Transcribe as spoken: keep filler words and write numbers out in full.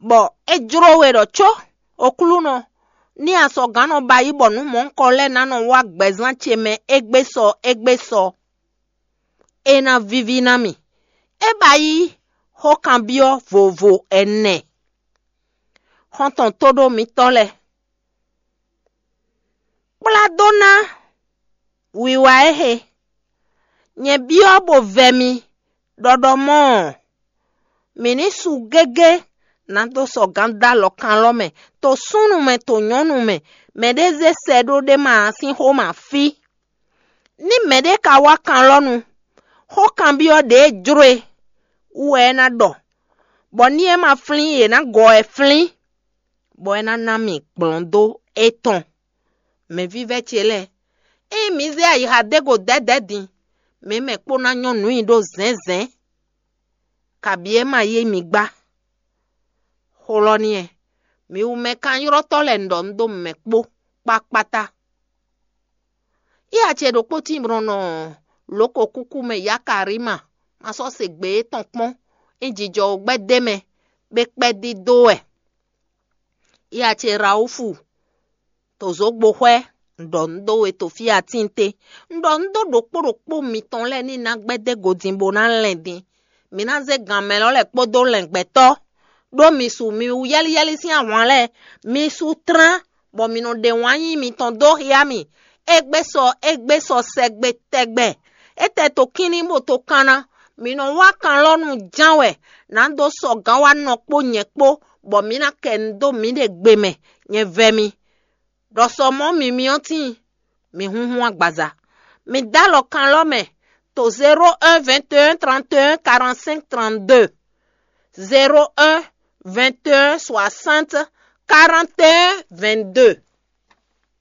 bɔ é jló we ɖɔ có Oklúnɔ, ní asɔgǎn nɔ ba yí bɔ nǔ mɔ̌hunkɔ lɛ́ɛ ná nɔ wá gbɛzán ce mɛ égbé sɔ égbé sɔ, é ná víví ná mì. É ba yí xókanbyɔ́ vovo ɛnɛ. Xɔ́ntɔn tóɖó mitɔ́ lɛ́ɛ, kplá dó ná wiwa éhe. Nyɛ byɔ́ bó vɛ mi ɖɔɖɔ mɔ́ ɔ́, mǐ ní su gégé nǎ dó sɔgǎn dó alɔ kanlɔ́ mɛ, to súnnu mɛ, to nyɔ̌nu mɛ, mɛɖé zé sɛ ɖó ɖé ma ǎ sín xó ma fí. Ní mɛɖé ka wá kanlɔ́nu, xó kanbyɔ́ ɖě e jló e wú wɛ é ná ɖɔ, bɔ ní é ma flín yě ná gɔ ɛ flín, bɔ é ná ná mì gblɔ̌n dó étɔn. Mɛvívɛ́ ce lɛ́ɛ, ényí mi zé ayixa dó go dɛ̌dɛ̌ din, mǐ mɛ kpó ná nyɔ́ nǔ nyi ɖó zɛ̌nzɛ̌n, kabǐ é ma yí mi gbá. Xó lɔ n'i wɛ, mi wú mɛ kanylɔ́tɔ́ lɛ́ɛ un ɖɔ un ɖó mɛ kpó kpákpátá. Yá ce ɖokpó tíin nɔ lǒ ko kúkú mɛ Yakarima, ma sɔ́ se gbe étɔn kpɔ́n, é jijɔ wǒ gbɛ́ d'é mɛ, bó kpɛ́ dídó wɛ. Yá ce Rawúfu, to zǒgbo xwɛ, un ɖɔ nǔ dó we to fí atín té. Un ɖɔ nǔ dó ɖokpó ɖokpó mitɔn lɛ́ɛ ní ná gbɛ́ dó godin bó ná lɛn din. Mi ná zé gan mɛ lɔ lɛ́ɛ kpódó lɛngbɛtɔ́, ɖó mi su mi wú yɛ́líyɛ́lí sín ahwan lɛ́ɛ. Mi su tlán, bɔ mi nɔ ɖe wǎn yí mitɔn dó xyá mì. Égbé sɔ, égbé sɔ sɛgbe tɛgbɛ. Étɛ́ to kínní bó to kanna. Mi nɔ wá kanlɔ́nu ján wɛ, nǎ dó sɔgǎn wá nɔ kpó nyɛ kpó, bɔ mǐ ná kɛ nu dó mǐɖée gbe mɛ, nyɛ vɛ mi. Ɖɔ sɔ mɔ̌ mimyɔ́ tíin, mi húnhún agbaza. Mi dó alɔ kanlɔ́ mɛ to zéro un vingt et un trente et un quarante-cinq trente-deux, zéro un vingt et un soixante quarante et un vingt-deux.